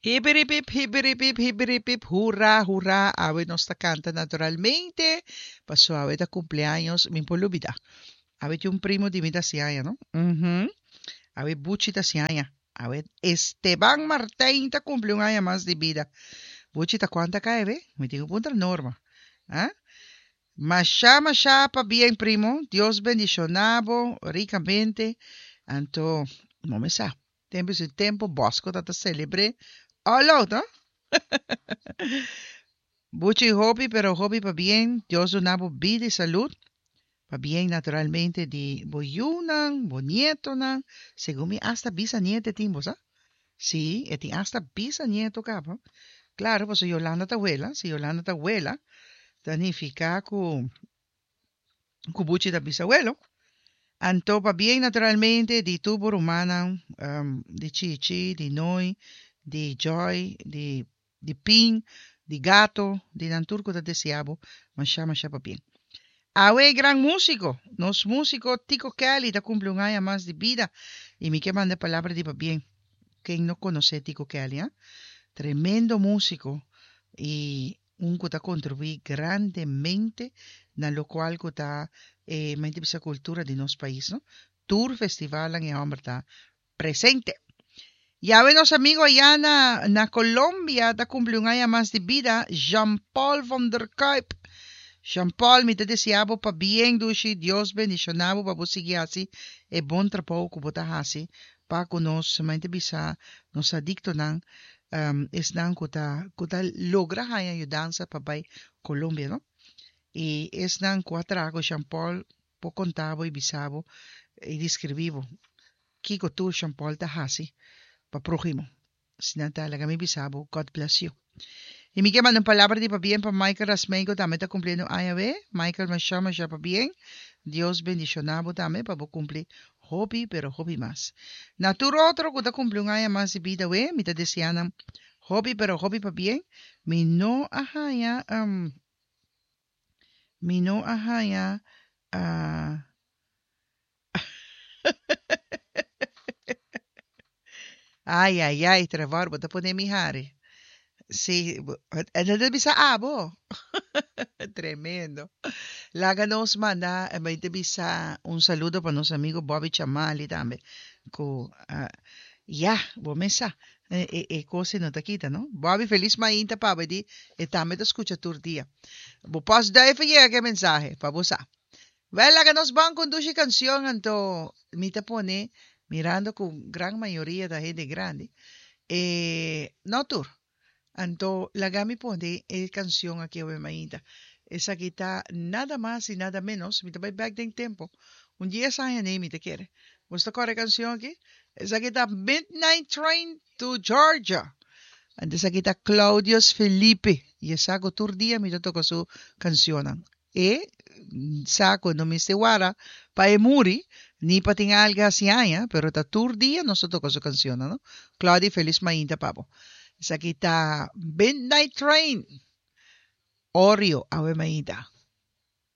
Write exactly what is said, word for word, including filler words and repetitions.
Hibiribip, hibiribip, hibiribip, hurra, hurra. Awe nos ta canta naturalmente. Paso awe ta cumpleaños, mi por lubida. Awe tin un primo di mi ta hasi aña, no? Mhm. Awe Buchi ta hasi aña. Awe Esteban Martijn ta cumpli un aña mas di bida. Buchi ta cuanta cai be? Mi tin cu puntra Norma. Ah? Masha, masha pabien primo. Dios bendiciona bo ricamente. Anto, no me sa. Tempo su tempo Bosco ta ta celebre all out, no? Buchi hopi, pero hopi pabien. Dios duna bo bida y salud. Pabien naturalmente di bo yiunan, bo nietonan. Segun mi hasta bisanieto e tin bo sa? Sí, e tin hasta bisanieto caba. Claro, pasobra Yolanda ta wela. Si Yolanda ta wela, ta nifica cu cu Buchi ta bisawelo. Anto pabien naturalmente di tur bo rumannan, di Chichi, di Nooi, di Joy, di di Pin, di Gato, di nan tur cu ta desea bo masha masha pabien. Awe e gran musico, nos musico Tico Kelly ta cumpli un aña mas di bida y mi ke manda e palabra di pabien. Ken no conoce Tico Kelly, ha? Tremendo musico y un cu ta contribui grandemente na locual cu ta e mente bisa cultura di nos pais, no? Tur festivalnan e homber ta presente. Yawe nos amigo aya na na Colombia ta cumpli un aña mas di bida, Jean Paul van der Kuyp. Jean Paul, mi ta desea bo pabien dushi, Dios bendiciona bo pa bo sigui haci e bon trabou cu bo ta haci pa cu nos mente bisa nos adictonan, esnan cu ta cu ta logra haña yudansa pa bay Colombia no. Y esnan cu a traha cu Jean Paul por conta bo y bisa bo y describi bo kico tur Jean Paul ta haci pa prohimo. Asina ta laga mi bisa bo God bless you. Y mi ke manda un palabra di pabien pa Michael Rasmijn cu tambe ta cumpliendo aña awe. Michael masha masha pabien. Dios bendiciona bo tambe pa bo cumpli hopi pero hopi mas. Na tur otro cu ta cumpli un aña mas di bida awe mi ta desea nan hopi pero hopi pabien. Mi no a haña mi no a haña Ay ay ay Trevor bo ta pone mi hari. Sí, e no ta bisa abo. Tremendo. Laga nos manda e bai ta bisa un saludo pa nos amigo Bobby Chamali tambe. Ku ya, bo mes sa. E e kos ei no ta kita, no? Bobby, felis mainta pa bo. E di e tambe ta skucha tur dia. Bo pòstduif a yega ku e mensahe, pa bo sa. Wèl, laga nos ban ku un dushi kanshon, anto mi ta pone, mirando ku gran mayoria ta hende grandi, e no tur, anto laga mi pone e kanshon aki awe mainta. Esaki ta nada mas i nada ménos, mi ta bai bèk den tempu, un dies aña nei mi ta kere. Boso ta kòrda e kanshon aki? Esaki ta Midnight Train to Georgia. Anto esaki ta Claudius Felipe, i e sa ku tur dia mi ta toka su kanshonnan. E sa ku no mester wara pa e muri, ni pa tin algu hasi aña, pero ta tur dia nos ta toka su kanshonnan, no? Claudia, felis mainta pa bo. Esaki ta Midnight Train, Oreo, awe mainta.